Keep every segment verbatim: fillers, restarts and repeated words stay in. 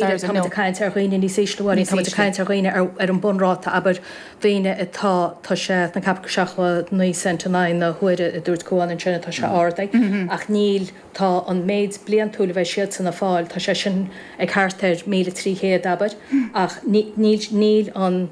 Tá ag caint ar dhaoine níos ísle, tá ag caint ar dhaoine ar an bunráta, abair, daoine atá, tá sé na ceap seachtó naoi cent in aghaidh na huaire a dúirt Cuan ansin atá sé ardaithe, ach níl, tá an méid bliantúil a bheidh siadsan ag fáil, tá sé sin ag thart ar míle trí chéad, abair, ach níl níl an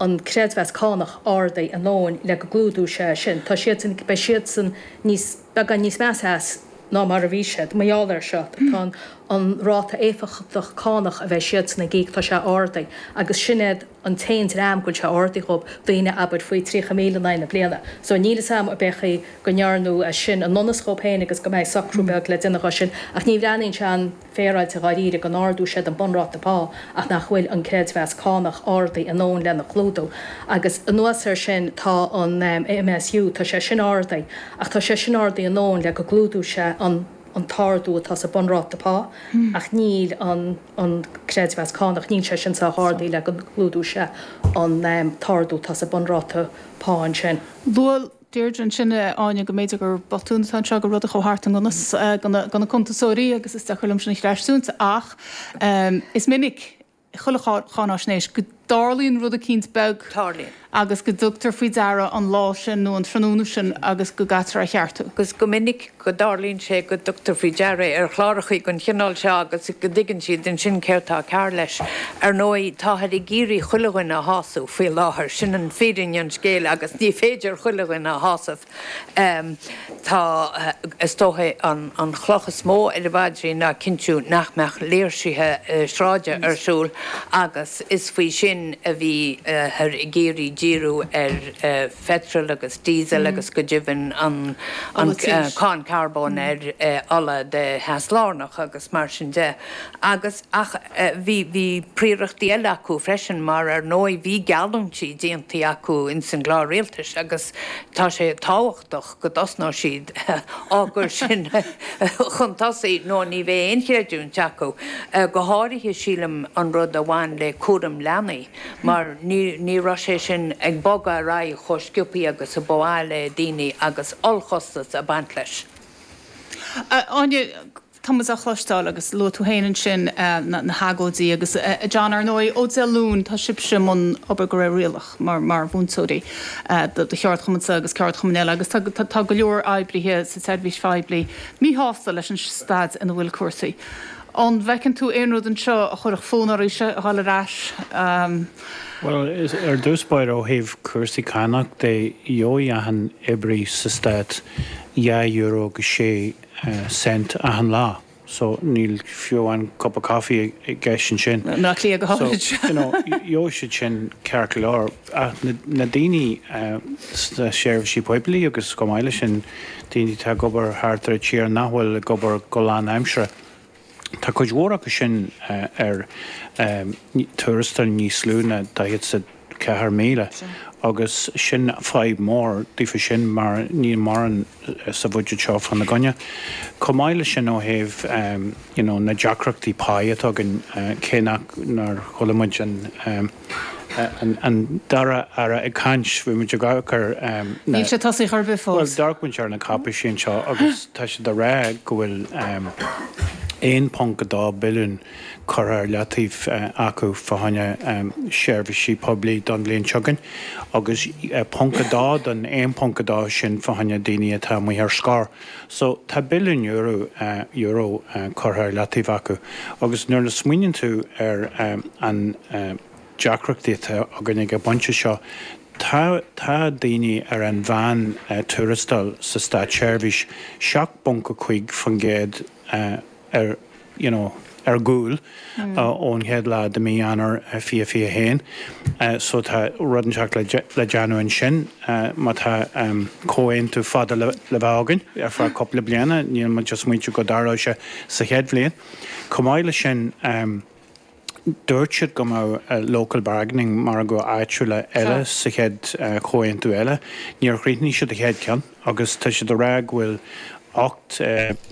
an creidmheas cánach ardaithe a ndóthain le go gclúdódh sé sin. Tá siadsan, beidh siadsan níos beagán níos measa as ná mar a bhí siad. Mar gheall air seo, tá an an ráta éifeachtach cánach a bheidh siadsan ag íoc, tá sé ardaithe agus sin iad an t-aon dream go bhfuil sé ardaithe dhóibh, daoine abair faoi tríocha míle in aghaidh na bliana. So níl fhios a'm ar bith chaoi go ndearnadh é sin i ndonas dhóibh féin agus go mbeidh socrú beag le déanamh dhó sin ach ní bhreathnaíonn sé an-fhéaráilte dháiríre go n-ardóidh siad an bunráta pá ach nach bhfuil an creidmheas cánach ardaithe a ndóthain lena chlúdú. Agus anuas air sin tá an M S U, tá sé sin ardaithe ach tá sé sin ardaithe a ndóthain le go gclúdódh sé an an t-ardú atá sa bunráta pá ach níl an an creidmheas cánach, níl sé sin sách ardaithe le go gclúdódh sé an um, t-ardú atá sa bunráta pá ansin. Luaigh Deirdre ansin, Áine, go mb'fhéidir gur botún atá anseo, gur rud a chuaigh thart i ngan fhios do na cuntasóirí agus is deacair liom sin a chreistiúint, ach um, is minic chuile cháinaisnéis go dtarlaíonn rud eicínt beag Tarlaíonn. agus go dtugtar faoi deara an lá sin nó an tráthnóna sin agus go gcaitear a cheartú. Agus go minic go dtarlaíonn sé go dtugtar faoi deara ar chláracha den chineál seo agus go dtuigeann siad ansin céard atá cearr leis. Ar ndóigh, táthar ag iarraidh chuile dhuine a shásamh faoi láthair, sin an fírinne an scéil, agus ní féidir chuile dhuine a shásamh. Um, tá is dócha an, an chloch is mó ar a mhaidrí ná cinntiú nach mbeadh léirsithe uh, sráide ar siúl, agus is faoi sin a bhí uh, ar ag iarraidh díriú ar uh, phetrol agus diesel mm. agus go deimhin an, an Ola uh, tí. cáin carbón mm. ar uh, ola de theas lárnach agus mar sin de. Agus ach uh, bhí bhí príorachtaí eile acu freisin, mar ar ndóigh bhí geallúintí déanta acu in san gclár rialtais agus tá sé tábhachtach go dtosnódh siad á gcur sin chun tosaigh nó ní bheidh aon chreidiúint acu. Uh, go háirithe, sílim, an rud a bhain le cúram leanaí, mar ní, ní raibh sé sin ag bogadh ar aghaidh chomh sciobtha agus a ba mhaith le daoine agus ollchostas ag baint leis. Áine, tá a chloisteáil agus luaigh tú féin ansin na, na hagóidí agus uh, John, ar ndóigh, ó Dé Luain tá sibhse i mbun obair go réir rialach mar mar mhúinteoirí uh, do do cheardchumann agus ceardchumann eile agus tá, tá, tá go leor oibrithe sa tseirbhís phoiblí míshásta leis an staid ina bhfuil cúrsaí. An bhfeiceann tú aon rud anseo a chuirfeadh fonn oraibhse a dhul ar ais? Um, Well, is ar dtús báire, ó thaobh cúrsaí cánach de, gheobhaidh achan oibrí sa stát dhá euro go sé cent achan lá. So níl fiú an cup of coffee i gceist ansin. Ná clí go So, háid. you know, gheobhaidh siad sin ceart go leor. Ach na, na daoine uh, sna seirbhísí poiblí agus go maith leis sin daoine atá ag obair thart ar an tír nach bhfuil ag obair go lánaimseartha, tá cuid mhór acu sin uh, ar um, tuarastal níos lú ná daichead sa ceathair míle agus sin fadhb mór daofa sin, mar níl mórán sa bhudget seo fána gcoinne. Chomh maith leis sin, ó thaobh um, you know, na deacrachtaí pá atá againn, uh, cé nach nár chuala muid an um, an, an dara aire ag caint, bhí muid ag amharc um, Níl sé tosaithe ar bith Well, fós. d'amharc ar na cáipéisí anseo agus tá sé de rá go bhfuil um, aon ponc dó billiún curtha ar leataobh uh, acu fá choinne um, seirbhísí poiblí don bhliain seo chugainn agus uh, ponc dó don aon ponc dó sin fá choinne daoine atá amuigh ar scor. So tá billiún euro, uh, euro uh, curtha ar leataobh acu agus nuair a smaoiníonn tú ar um, an uh, deacrachtaí atá againn ag an bpointe seo, Tá tá daoine ar an mheán uh, tuarastal sa státseirbhís seacht bponc a cúig faoin gcéad uh, ar you know, ar gcúl mm. uh, ón chéad lá de mí Eanáir uh, fiche fiche haon. Uh, so tá rud inteacht le, le déanamh ansin uh, má tá um, comhaontú fada le, le bheith againn ar feadh cúpla bliana, níl muid just smaointiú go dtarlóidh sé sa chéad bhliain. Chomh maith leis sin, um, dúirt siad go mbeadh uh, local bargaining, margadh áitiúla eile, sa chéad uh, chomhaontú eile. Níor chríochnaigh siad a chéad ceann agus tá siad a rá go bhfuil ocht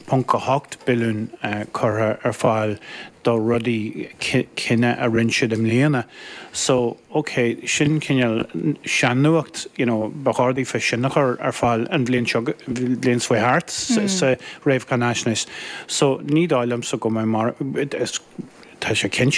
ponc a hocht billiún uh, curtha ar fáil do rudaí cinne a rinne siad i mbliana. So okay, sin cineál sean-nuacht, you know, ba chóir daofa sin a chur ar fáil an bhliain seo, bliain seo thart mm. sa réamhcháinaisnéis. So ní dóigh liomsa go mbeidh mar is Tá sé cinnte